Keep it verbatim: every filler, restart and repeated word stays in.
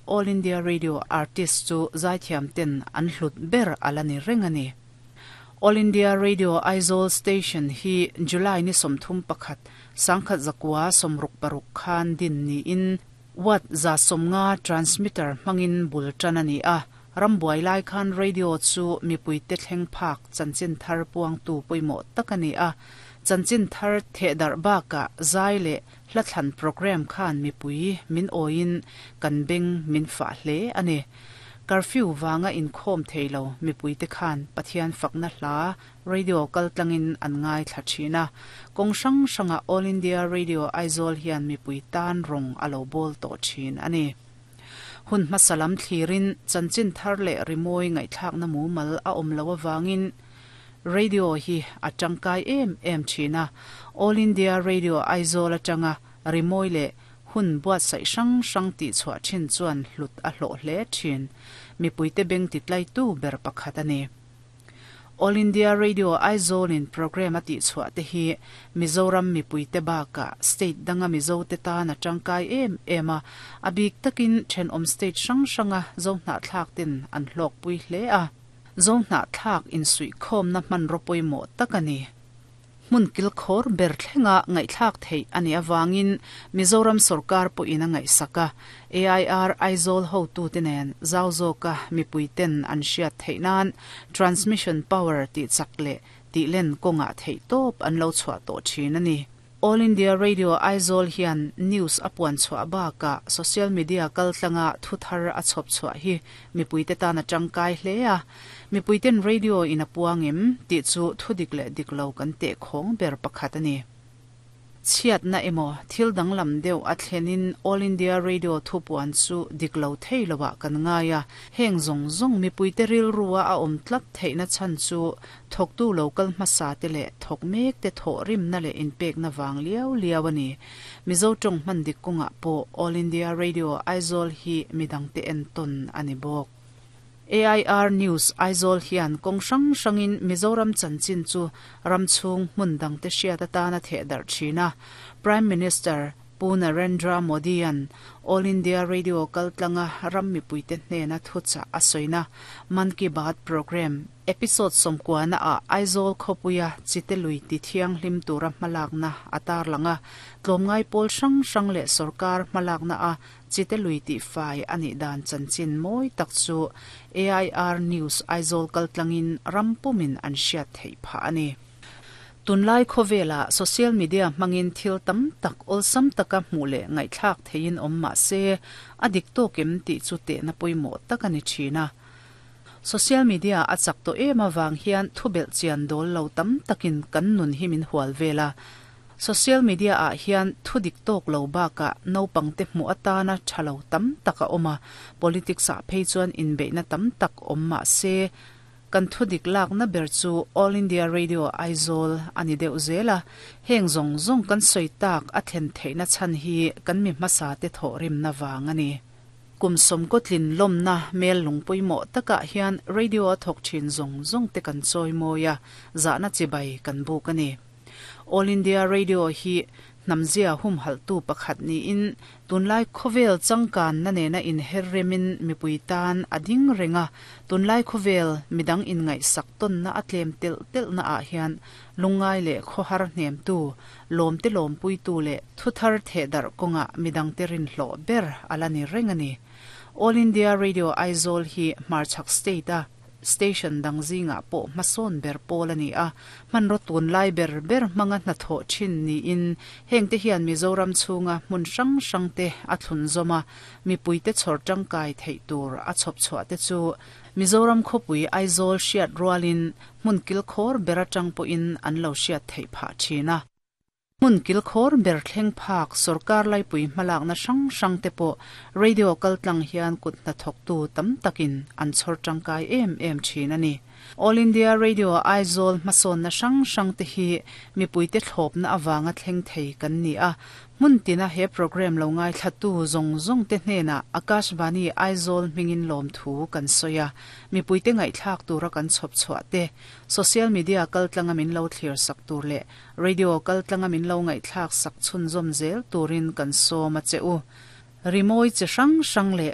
All India Radio artist chu zaithiam ten an hlut ber ala ni reng ani. All India Radio Aizawl Station hi July ni sawmthum pakhat sangkhat zakua sawmruk paruk khan din ni in watt za sawmnga transmitter hmangin bul tan ani a. Rambuai lai khan radio chu mipui te thleng phak chanchin thar puang tu pawimawh tak ani a. Chanchin thar thehdar bakah zai leh hlathlan program khan mipui min awiin kan beng min fah hle ani. Curfew wanga inkhawm theilo mipui te khan Pathian fakna hla radio kaltlangin an ngai thla thin a. Kawng hrang hranga All India Radio Aizawl hian mipui tan rawng a lo bawl tawh thin ani. Hun hmasa lam thlirin chanchin thar leh rimawi ngaihthlakna mumal a awm lo awangin radio hi a tangkai em em thin a. All India Radio Aizawl atanga rimawi leh hun buatsaih hrang hrang tih chhuah thin chuan hlut a hlawh hle thin. Mipui te beng ti tlai tu ber pakhat ani. All India Radio Aizawl in program a tih chhuah te hi Mizoram mipui te bakah state danga Mizo te tan a tangkai em em a. A bik takin thenawm state hrang hranga Zohnahthlak ten an hlawk pui hle a. Zohnahthlak insuihkhawmna hmanraw pawimawh tak ani. Hmun kil khawr ber thlenga ngaihthlak theih ani awangin Mizoram sarkar pawhin a ngaihsak a. A I R Aizawl hotu te nen zau zawka mipui ten an hriat theih nan transmission power tih chak leh tih len kawngah theih tawp an lo chhuah tawh thin ani. All India Radio Aizawl hian news a puan chhuah bakah social media kaltlanga thu thar a chhawp chhuah hi mipui te tan a tangkai hle a. Mipui ten radio in a puangem tih chu thu dik leh dik lo kan teh khawng ber pakhat ani. Chhiatna emaw thil danglam deuh a thlenin All India Radio thu puan chu dik lo thei loah kan ngai a. Heng zawng zawng mipui te rilrua a awm tlat theihna chhan chu thawktu local hmasa te leh thawk mek te thawh rimna leh inpekna wang liau liau ani. Mizo tawng hman dik kawngah pawh All India Radio Aizawl hi midang te entawn ani bawk. A I R News Aizawl hian kawng hrang hrangin Mizoram chanchin chu ramchhung hmun dang te hriat atana thehdar thin a. Prime Minister Pu Narendra Modi an All India Radio kaltlanga ram mipui te hnena thuchah a sawina Man Ki Baat program episode sawmkuana a Aizawl khawpuia Chitelui ti thianghlim tura hmalakna a tarlanga tlawmngai pawl hrang hrang leh sarkar hmalakna a Chitelui ti fai ani dan chanchin mawi tak chu A I R News Aizawl kaltlangin rampumin an hriat theih phah ani. Tunlai khawvela social media hmangin thil tam tak awlsam taka hmuh leh ngaihthlak theiin awm mah se a dik tawkim tih chu tehna pawimawh tak ani thin a. Social media a chak tawh em awang hian thubelh chian dawl lo tam takin kan nun hi min hual vela. Social media ah hian thu dik tawk lo bakah naupang te hmuh atana thalo tam tak a awm a. Politics ah phei chuan inbeihna tam tak awm mah se kan thu dik lakna ber chu All India Radio Aizawl ani deuh zel a. Heng zawng zawng kan sawi tak a thlen theihna chhan hi kan mi hmasa te thawh rimna wang ani. Kum sawmkaw tlin lawmna mel lung pawimawh takah hian radio a thawk thin zawng zawng te kan chawi mawi a, zahna chibai kan buk ani. All India Radio hi hnamzia hum haltu pakhat niin tunlai khawvel changkan na nena inher remin mipui tan a ding renga. Tunlai khawvel midang in ngaih sak tawn na a tlem tel tel na ah hian lungai leh khawhar hnem tu lawm te lawm pui tu leh thu thar thehdar kawnga midang te rin hlawh ber ala ni reng ani. All India Radio Aizawl hi Hmarchhak state a station dang zingah pawh hmasawn ber pawl ani a. Hmanraw tun lai ber ber hmanga hnathawh thin niin heng te hian Mizoram chhunga hmun hrang hrang te a thlun zawm a. Mipui te chhawr tangkai theih tur a chhawp chhuah te chu Mizoram khawpui Aizawl hriat rualin hmun kil khawr ber atang pawhin an lo hriat theih phah thin a. Hmun kil khawr ber thleng phak sarkar laipui hmalakna hrang hrang te pawh radio kaltlang hian kut hnathawk tu tam takin an chhawr tangkai em em thin ani. All India Radio Aizawl hmasawnna hrang hrang te hi mipui te thlawpna awanga thleng thei kan ni a. Hmun tina he program lo ngai thlatu zawng zawng te hnena Akashvani Aizawl hmingin lawm thu kan sawi a. Mipui te ngaihthlak tura kan chhawp chhuah te social media kaltlanga min lo thlir sak tur leh radio kaltlanga min lo ngaihthlak sak chhun zawm zel turin kan sawm a che u. Rimawi chi hrang hrang leh